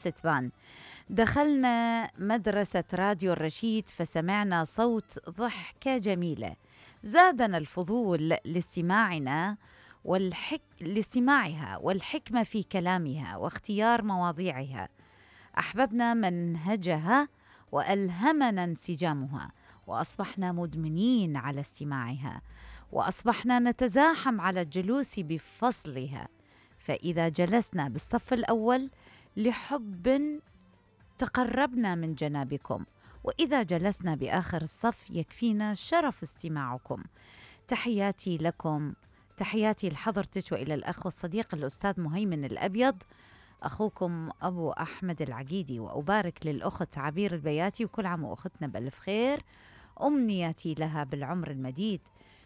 ستبان. دخلنا مدرسة راديو الرشيد فسمعنا صوت ضحكة جميلة، زادنا الفضول لاستماعها والحكمة في كلامها واختيار مواضيعها. أحببنا منهجها وألهمنا انسجامها، وأصبحنا مدمنين على استماعها، وأصبحنا نتزاحم على الجلوس بفصلها. فإذا جلسنا بالصف الأول لحب تقربنا من جنابكم، وإذا جلسنا بآخر الصف يكفينا شرف استماعكم. تحياتي لكم، تحياتي لحضرتك وإلى الأخ والصديق الأستاذ مهيمن الأبيض، أخوكم أبو أحمد العقيدي. وأبارك للأخت عبير البياتي، وكل عام وأختنا بألف خير. أمنياتي لها بالعمر المديد.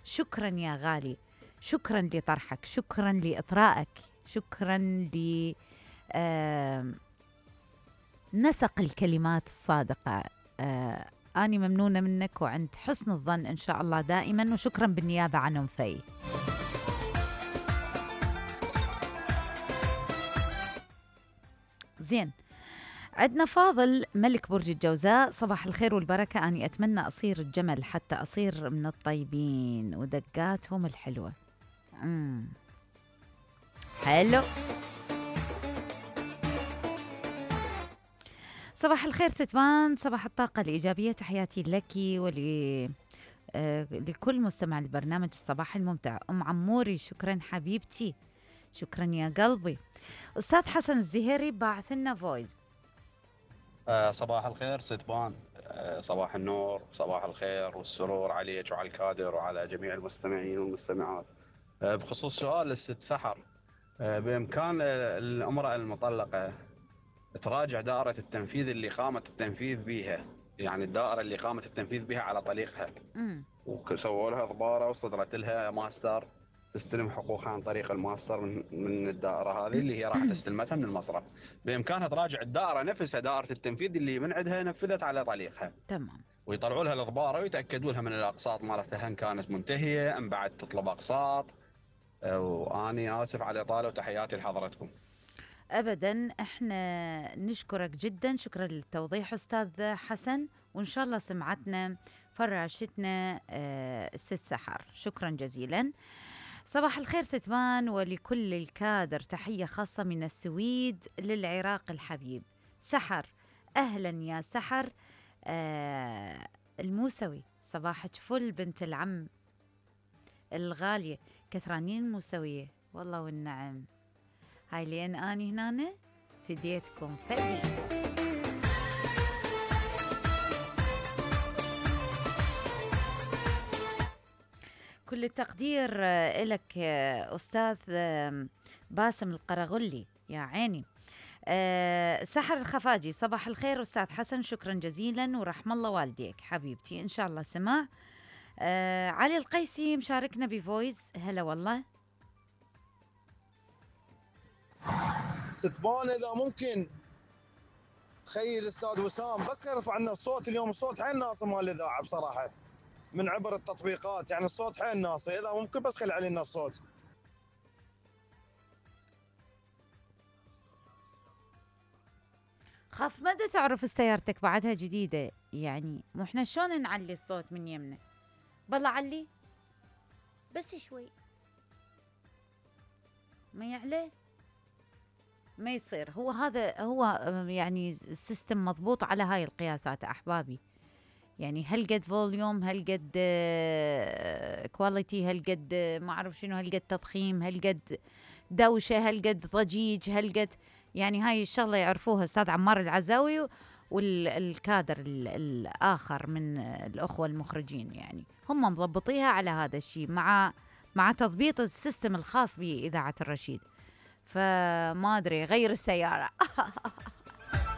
شكرا يا غالي، شكرا لطرحك، شكرا لإطرائك، شكرا نسق الكلمات الصادقة. أني ممنونة منك وعند حسن الظن إن شاء الله دائما، وشكرا بالنيابة عنهم في زين. عندنا فاضل ملك برج الجوزاء، صباح الخير والبركة، أني أتمنى أصير الجمل حتى أصير من الطيبين ودقاتهم الحلوة. حلو. صباح الخير ستبان، صباح الطاقة الإيجابية، تحياتي لك لكل مستمع البرنامج الصباح الممتع. أم عموري شكرا حبيبتي، شكرا يا قلبي. أستاذ حسن الزهيري باعث لنا فويس. صباح الخير ستبان، صباح النور، صباح الخير والسرور عليك وعلى الكادر وعلى جميع المستمعين والمستمعات. بخصوص سؤال الست سحر، بإمكان الامرأة المطلقة تراجع دائرة التنفيذ اللي قامت التنفيذ بها، يعني الدائرة اللي قامت التنفيذ بها على طريقها، وسووا لها ضبارة وصدرت لها ماستر، تستلم حقوقها عن طريق الماستر من الدائرة هذه اللي هي راح تستلمتها من المصرف. بإمكانها تراجع الدائرة نفسها، دائرة التنفيذ اللي من عندها نفذت على طريقها. تمام. ويطلعوا لها الضبارة ويتأكدوا لها من الأقساط مالتها إن كانت منتهية أم بعد تطلب أقساط. وأني آسف على الإطالة وتحياتي لحضرتكم. أبدا، احنا نشكرك جدا، شكرا للتوضيح أستاذ حسن، وإن شاء الله سمعتنا فراشتنا الست سحر، شكرا جزيلا. صباح الخير ستبان ولكل الكادر، تحية خاصة من السويد للعراق الحبيب. سحر، أهلا يا سحر الموسوي، صباحك فل بنت العم الغالية، كثرانين موسوية والله والنعم. هاي لين أني هنا فديتكم فدي. كل التقدير إلك أستاذ باسم القرغلي، يا عيني. سحر الخفاجي، صباح الخير أستاذ حسن، شكرا جزيلا ورحم الله والديك حبيبتي، إن شاء الله سمع. علي القيسي مشاركنا بفويس، هلا والله. ستبان اذا ممكن تخيل استاذ وسام بس يرفع لنا الصوت اليوم، الصوت حيل ناصي مال الاذاعه بصراحه من عبر التطبيقات، يعني الصوت حيل ناصي، اذا ممكن بس خلي علينا الصوت. خاف مدى تعرف سيارتك بعدها جديده، يعني مو احنا شلون نعلي الصوت من يمنا؟ بالله علي بس شوي، ما يعلى ما يصير. هو هذا هو يعني السيستم مضبوط على هاي القياسات احبابي، يعني هل قد فوليوم، هل قد كواليتي، هل قد ما اعرف شنو، هل قد تضخيم، هل قد دوشه، هل قد ضجيج، هل قد، يعني هاي الشغله يعرفوها استاذ عمار العزاوي والكادر الاخر من الاخوه المخرجين، يعني هم مضبطيها على هذا الشيء مع تضبيط السيستم الخاص باذاعه الرشيد. فما ادري، غير السياره.